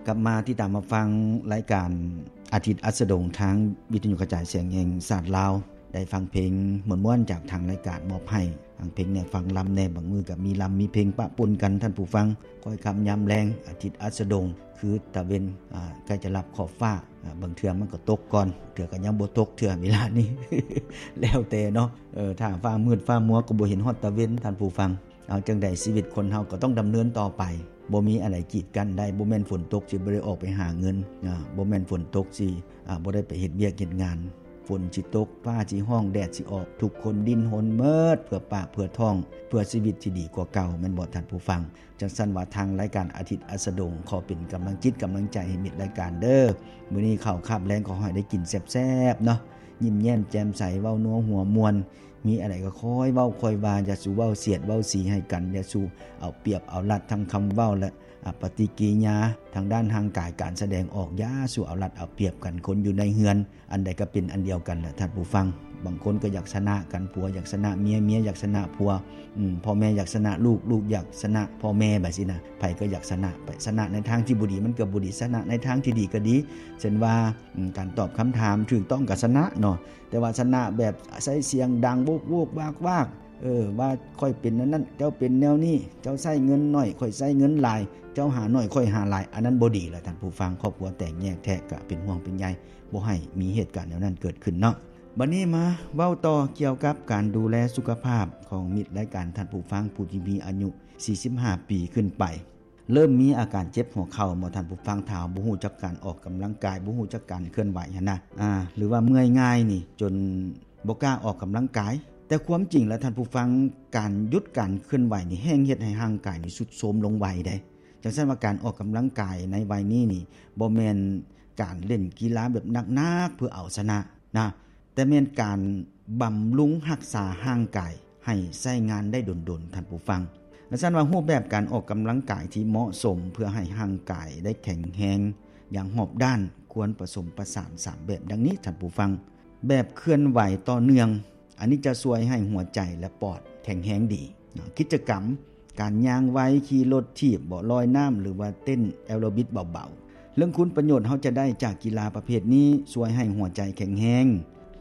ກັບມາຕິດຕາມຮັບຟັງລາຍການອາທິດອັດສະດົງ ທາງວິທະຍຸກະຈາຍສຽງແຫ່ງຊາດລາວ. ໄດ້ຟັງເພງມ່ວນໆຈາກທາງລາຍການມອບໃຫ້, ຟັງເພງແດ່, ຟັງລຳແດ່, ບາງມື້ກໍມີລຳມີເພງປະປົນກັນ, ທ່ານຜູ້ຟັງ. ຄ່ອຍຄ່ຳຍາມແລງ, ອາທິດອັດສະດົງ ຄືຕາເວັນ ອາ ໃກ້ຈະລັບຂອບຟ້າ, ອາ ບາງເທື່ອມັນກໍຕົກກ່ອນ, ເທື່ອກໍຍັງບໍ່ຕົກເທື່ອເວລານີ້ ແລ້ວແຕ່ເນາະ. ເອີ ຖ້າຟ້າມືດຟ້າມົວກໍບໍ່ເຫັນຮອດຕາເວັນ, ທ່ານຜູ້ຟັງ. ເອົາຈັ່ງໃດ ຊີວິດຄົນເຮົາກໍຕ້ອງດຳເນີນຕໍ່ໄປ, ບໍ່ມີອັນໃດກີດກັ້ນໄດ້. ບໍ່ແມ່ນຝົນຕົກຊິບໍ່ໄດ້ອອກໄປຫາເງິນ, ອາ ບໍ່ແມ່ນຝົນຕົກຊິ ອາ ບໍ່ໄດ້ໄປເຮັດວຽກເຮັດງານ. ຝົນຊິຕົກ, ຟ້າຊິຮ້ອງ, ແດດຊິອອກ, ທຸກຄົນດີ້ນຮົນໝົດ ເພື່ອປາກເພື່ອທ້ອງ, ເພື່ອຊີວິດທີ່ດີກວ່າເກົ່າ, ແມ່ນບໍ່ທ່ານຜູ້ຟັງ? ຈັ່ງຊັ້ນວ່າ ທາງລາຍການອາທິດອັດສະດົງ ຂໍເປັນກຳລັງຈິດກຳລັງໃຈໃຫ້ມິດລາຍການເດີ້. ມື້ນີ້ເຂົ້າຄາບແລງ ຂໍໃຫ້ໄດ້ກິນແຊບໆເນາະ, ຍິ້ມແຍ້ມແຈ່ມໃສ, ເວົ້ານົວຫົວມ່ວນ, ມີອັນໃດກໍຄ່ອຍເວົ້າຄ່ອຍວ່າ, ຢ່າສູ່ເວົ້າສຽດເວົ້າສີໃຫ້ກັນ, ຢ່າສູ່ເອົາປຽບເອົາລັດ ທັງຄຳເວົ້າ ແລະ ອາ ປະຕິກິລິຍາທາງດ້ານຮ່າງກາຍ, ການສະແດງອອກ, ຢ່າສູ່ເອົາລັດເອົາປຽບກັນ. ຄົນຢູ່ໃນເຮືອນ ອັນໃດກໍເປັນອັນດຽວກັນແຫຼະທ່ານຜູ້ຟັງ. ບາງຄົນກໍຢາກຊະນະກັນ, ຜົວຢາກຊະນະເມຍ, ເມຍຢາກຊະນະຜົວ, ອືມ ພໍ່ແມ່ຢາກຊະນະລູກ, ລູກຢາກຊະນະພໍ່ແມ່, ແບບຊີ້ນະ. ໃຜກໍຢາກຊະນະໄປ, ຊະນະໃນທາງທີ່ບໍ່ດີມັນກໍບໍ່ດີ, ຊະນະໃນທາງທີ່ດີກໍດີ. ເຊັ່ນວ່າ ອືມ ການຕອບຄຳຖາມຖືກຕ້ອງກໍຊະນະເນາະ, ແຕ່ວ່າຊະນະແບບໃຊ້ສຽງດັງໂວກໆວາກໆ, ເອີ ວ່າຂ້ອຍເປັນແນວນັ້ນ, ເຈົ້າເປັນແນວນີ້, ເຈົ້າໃຊ້ເງິນໜ້ອຍ, ຂ້ອຍໃຊ້ເງິນຫຼາຍ, ເຈົ້າຫາໜ້ອຍ, ຂ້ອຍຫາຫຼາຍ, ອັນນັ້ນບໍ່ດີແຫຼະທ່ານຜູ້ຟັງ. ຄອບຄົວແຕກແຍກແທ້ ກໍເປັນຫ່ວງເປັນໃຍ, ບໍ່ໃຫ້ມີເຫດການແນວນັ້ນເກີດຂຶ້ນເນາະ. ບັດນີ້ມາເວົ້າຕໍ່ກ່ຽວກັບການດູແລສຸຂະພາບຂອງມິດລາຍການ, ທ່ານຜູ້ຟັງ ຜູ້ທີ່ມີອາຍຸສີ່ສິບຫ້າປີຂຶ້ນໄປ. ເລີ່ມມີອາການເຈັບຫົວເຂົ່າບໍ່ທ່ານຜູ້ຟັງ? ຖ້າບໍ່ຮູ້ຈັກການອອກກຳລັງກາຍ, ບໍ່ຮູ້ຈັກການເຄື່ອນໄຫວຫັ້ນນະ, ອາ ຫຼືວ່າເມື່ອຍງ່າຍນີ້ ຈົນບໍ່ກ້າອອກກຳລັງກາຍ. ແຕ່ຄວາມຈິງແລ້ວທ່ານຜູ້ຟັງ, ການຢຸດການເຄື່ອນໄຫວນີ້ ແຮ່ງເຮັດໃຫ້ຮ່າງກາຍນີ້ຊຸດໂຊມລົງໄວເດ້. ຈັ່ງຊັ້ນວ່າ ການອອກກຳລັງກາຍໃນໄວນີ້ນີ້ ບໍ່ແມ່ນການຫຼິ້ນກິລາແບບໜັກໆເພື່ອເອົາຊະນະນະ, ແຕ່ແມ່ນການບຳລຸງຮັກສາຮ່າງກາຍໃຫ້ໃຊ້ງານໄດ້ດົນໆ ທ່ານຜູ້ຟັງ. ດັ່ງຊັ້ນວ່າ ຮູບແບບການອອກກຳລັງກາຍທີ່ເໝາະສົມເພື່ອໃຫ້ຮ່າງກາຍໄດ້ແຂງແຮງຢ່າງຮອບດ້ານ ຄວນປະສົມປະສານສາມແບບດັ່ງນີ້ ທ່ານຜູ້ຟັງ. ແບບເຄື່ອນໄຫວຕໍ່ເນື່ອງ, ອັນນີ້ຈະຊ່ວຍໃຫ້ຫົວໃຈ ແລະ ປອດແຂງແຮງດີ. ກິດຈະກຳ ການຍ່າງໄວ, ຂີ່ລົດຖີບບໍ, ລອຍນ້ຳ ຫຼືວ່າເຕັ້ນແອໂຣບິກເບົາໆ. ເລື່ອງຄຸນປະໂຫຍດເຮົາຈະໄດ້ຈາກກິລາປະເພດນີ້ ຊ່ວຍໃຫ້ຫົວໃຈແຂງແຮງ,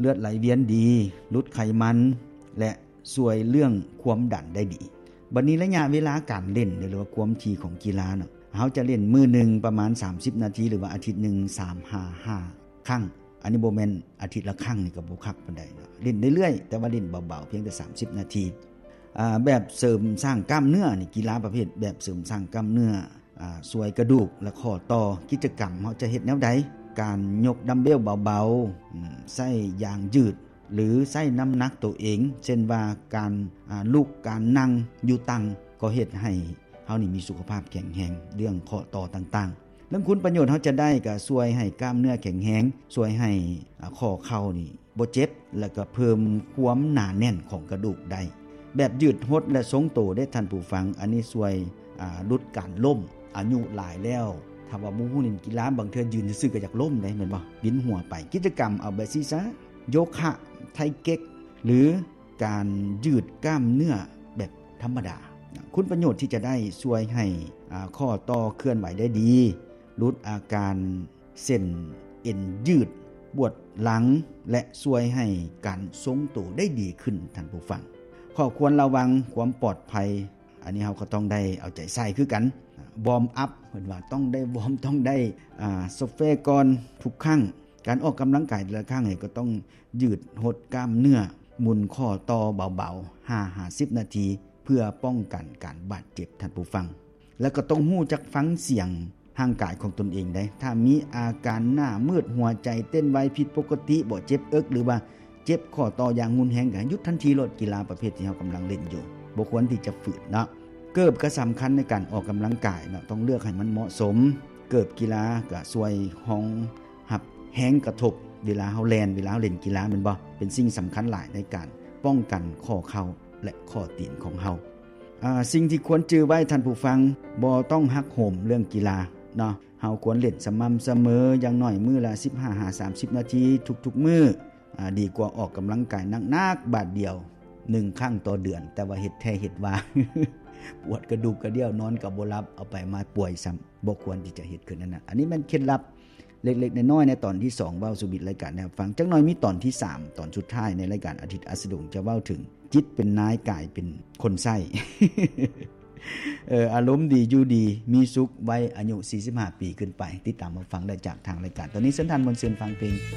ເລືອດໄຫຼວຽນດີ, ຫຼຸດໄຂມັນ ແລະ ຊ່ວຍເລື່ອງຄວາມດັນໄດ້ດີ. ບັດນີ້ໄລຍະເວລາການຫຼິ້ນ ຫຼືວ່າຄວາມຖີ່ຂອງກິລາເນາະ, ເຮົາຈະຫຼິ້ນມື້ໜຶ່ງປະມານສາມສິບນາທີ ຫຼືວ່າອາທິດໜຶ່ງສາມຫາຫ້າຄັ້ງ. ອັນນີ້ບໍ່ແມ່ນອາທິດລະຄັ້ງນີ້ກໍບໍ່ຄັກປານໃດເນາະ, ຫຼິ້ນເລື້ອຍໆ ແຕ່ວ່າຫຼິ້ນເບົາໆ ພຽງແຕ່ສາມສິບນາທີ. ອາ ແບບເສີມສ້າງກ້າມເນື້ອນີ້, ກິລາປະເພດແບບເສີມສ້າງກ້າມເນື້ອ ອາ ຊ່ວຍກະດູກ ແລະ ຂໍ້ຕໍ່. ກິດຈະກຳເຮົາຈະເຮັດແນວໃດ? ການຍົກດຳເບວເບົາໆ, ອາ ໃຊ້ຢາງຢືດ ຫຼືໃຊ້ນ້ຳໜັກໂຕເອງ, ເຊັ່ນວ່າ ການ ອາ ລຸກ, ການນັ່ງຢູ່ຕັ່ງ ກໍເຮັດໃຫ້ເຮົານີ້ມີສຸຂະພາບແຂງແຮງ ເລື່ອງຂໍ້ຕໍ່ຕ່າງໆ. ເລື່ອງຄຸນປະໂຫຍດເຮົາຈະໄດ້ ກໍຊ່ວຍໃຫ້ກ້າມເນື້ອແຂງແຮງ, ຊ່ວຍໃຫ້ ອາ ຂໍ້ເຂົ່ານີ້ບໍ່ເຈັບ ແລະ ກໍເພີ່ມຄວາມໜາແໜ້ນຂອງກະດູກໄດ້. ແບບຢືດຫົດ ແລະ ຊົງໂຕເດ້ທ່ານຜູ້ຟັງ, ອັນນີ້ຊ່ວຍ ອາ ຫຼຸດການລົ້ມ. ອາຍຸຫຼາຍແລ້ວ ຖ້າວ່າບໍ່ຮູ້ຫຼິ້ນກິລາ ບາງເທື່ອຢືນຊື່ໆກໍຢາກລົ້ມເດ້ ແມ່ນບໍ່? ປິ່ນຫົວໄປ. ກິດຈະກຳເອົາແບບຊີ້ຊະ, ໂຍຄະ, ໄທເກັກ ຫຼື ການຢືດກ້າມເນື້ອແບບທຳມະດາ. ຄຸນປະໂຫຍດທີ່ຈະໄດ້ ຊ່ວຍໃຫ້ ອາ ຂໍ້ຕໍ່ເຄື່ອນໄຫວໄດ້ດີ, ຫຼຸດອາການເສັ້ນເອັນຢືດ, ປວດຫຼັງ ແລະ ຊ່ວຍໃຫ້ການຊົງໂຕໄດ້ດີຂຶ້ນ, ທ່ານຜູ້ຟັງ. ຂໍ້ຄວນລະວັງຄວາມປອດໄພ, ອັນນີ້ເຮົາກໍຕ້ອງໄດ້ເອົາໃຈໃສ່ຄືກັນ. ວອມອັບ, ເພິ່ນວ່າຕ້ອງໄດ້ວອມ, ຕ້ອງໄດ້ ອາ ໂຊເຟກ່ອນທຸກຄັ້ງ. ການອອກກຳລັງກາຍແຕ່ລະຄັ້ງນີ້ກໍຕ້ອງຢືດຫົດກ້າມເນື້ອ, ໝູນຂໍ້ຕໍ່ເບົາໆ ຫ້າຫາສິບນາທີ ເພື່ອປ້ອງກັນການບາດເຈັບ, ທ່ານຜູ້ຟັງ. ແລ້ວກໍຕ້ອງຮູ້ຈັກຟັງສຽງຮ່າງກາຍຂອງຕົນເອງໄດ໋. ຖ້າມີອາການໜ້າມືດ, ຫົວໃຈເຕັ້ນໄວຜິດປົກກະຕິ, ບໍ່ເຈັບເອິກ ຫຼືວ່າເຈັບຂໍ້ຕໍ່ຢ່າງຮຸນແຮງ, ກໍໃຫ້ຢຸດທັນທີໂລດ. ກິລາປະເພດທີ່ເຮົາກຳລັງຫຼິ້ນຢູ່ ບໍ່ຄວນທີ່ຈະຝືນເນາະ. ເກີບກໍສຳຄັນໃນການອອກກຳລັງກາຍເນາະ, ຕ້ອງເລືອກໃຫ້ມັນເໝາະສົມ. ເກີບກິລາກໍຊ່ວຍຮອງຮັບແຮງກະທົບເວລາເຮົາແລ່ນ, ເວລາເຮົາຫຼິ້ນກິລາ ແມ່ນບໍ່? ເປັນສິ່ງສຳຄັນຫຼາຍໃນການປ້ອງກັນຂໍ້ເຂົ່າ ແລະ ຂໍ້ຕີນຂອງເຮົາ. ອາ ສິ່ງທີ່ຄວນຈື່ໄວ້ທ່ານຜູ້ຟັງ, ບໍ່ຕ້ອງຮັກໂຫມເລື່ອງກິລາເນາະ. ເຮົາຄວນຫຼິ້ນສະໝ່ຳສະເໝີ, ຢ່າງໜ້ອຍມື້ລະສິບຫ້າຫາສາມສິບນາທີທຸກໆມື້. ອາ ດີກວ່າອອກກຳລັງກາຍໜັກໆບາດດຽວໜຶ່ງຄັ້ງຕໍ່ເດືອນ, ແຕ່ວ່າເຮັດແທ້ເຮັດວ່າ. ປວດກະດູກກະດ່ຽວ ນອນກໍບໍ່ຫຼັບ ເອົາໄປມາປ່ວຍຊ້ຳ ບໍ່ຄວນທີ່ຈະເຮັດຄືນນັ້ນນະ. ອັນນີ້ແມ່ນເຄັດລັບເລັກໆນ້ອຍໆ ໃນຕອນທີສອງ ເວົ້າສູ່ມິດລາຍການໄດ້ຟັງ. ຈັກໜ່ອຍມີຕອນທີສາມ ຕອນສຸດທ້າຍໃນລາຍການອາທິດອັດສະດົງ ຈະເວົ້າເຖິງຈິດເປັນນາຍ ກາຍເປັນຄົນໃຊ້ ເອີ ອາລົມດີ ຢູ່ດີ ມີສຸກ ໄວອາຍຸສີ່ສິບຫ້າປີຂຶ້ນໄປ. ຕິດຕາມຮັບຟັງໄດ້ຈາກທາງລາຍການ. ຕອນນີ້ເຊີນທ່ານມ່ວນຊື່ນຟັງເພງ.